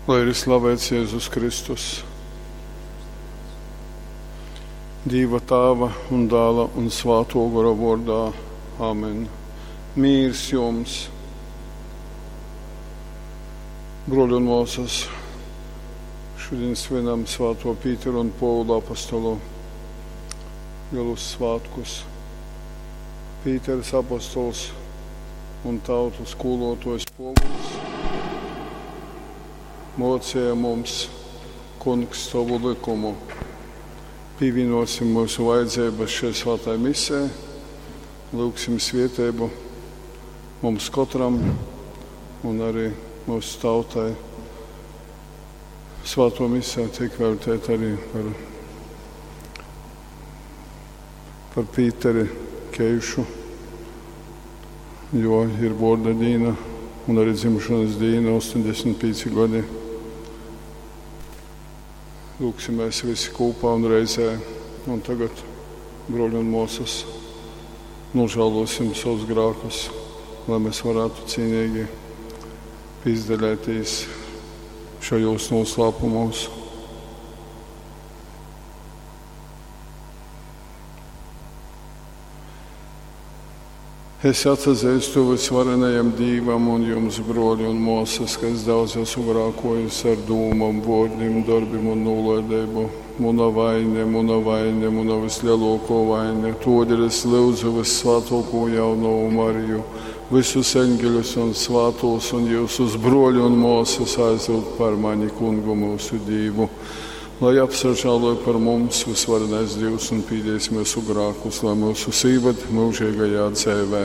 Lai ir slavēts Jēzus Kristus. Dīva Tāva un Dāla un Svātō Gora vōrdā. Amen. Mīrs jums! Bruoļi un muosys, šudiņ svinam Svātuo Pītera un Puovula apostolu lielus svātkus. Pīters apostols un tautu skūluotuojs Puovuls muocēja mums, Kungs, tovu lykumu. Pīvīnuosim myusu vajadzeibys šai svātai misē, lyugsim svieteibu mums kotram un arī myusu tautai. Svātuo mise tiek velteita arī par, par Pīteri Keišu, jo ir vuorda dīna un arī dzimšanas dīna 85 gadi. Lūgsimies visi kopā un reizē. Un tagad, broļi un muosas, nožēlosim savus grēkus, lai mēs varētu cīnīgi izdaļēties šajos noslēpumos. Es atsazīstu visvarenajam Dīvam un jums, broļi un muosas, ka es daudz esmu grākojis ar dūmām, vārdiem, darbiem un nolaidību. Muna vaine, muna vaine, muna vislielāko vaine. Todēļ es lūdzu vissvētāko jaunavu Mariju, visus eņģeļus un svātos un jūsus broļu un muosas aizlūgt par mani kungu mūsu Dīvu. Lai apsažāloja par mums visvarenais Dievs un pīdēs mūsu grākus, lai mūsu sīvad mūžīgajā dzēvē.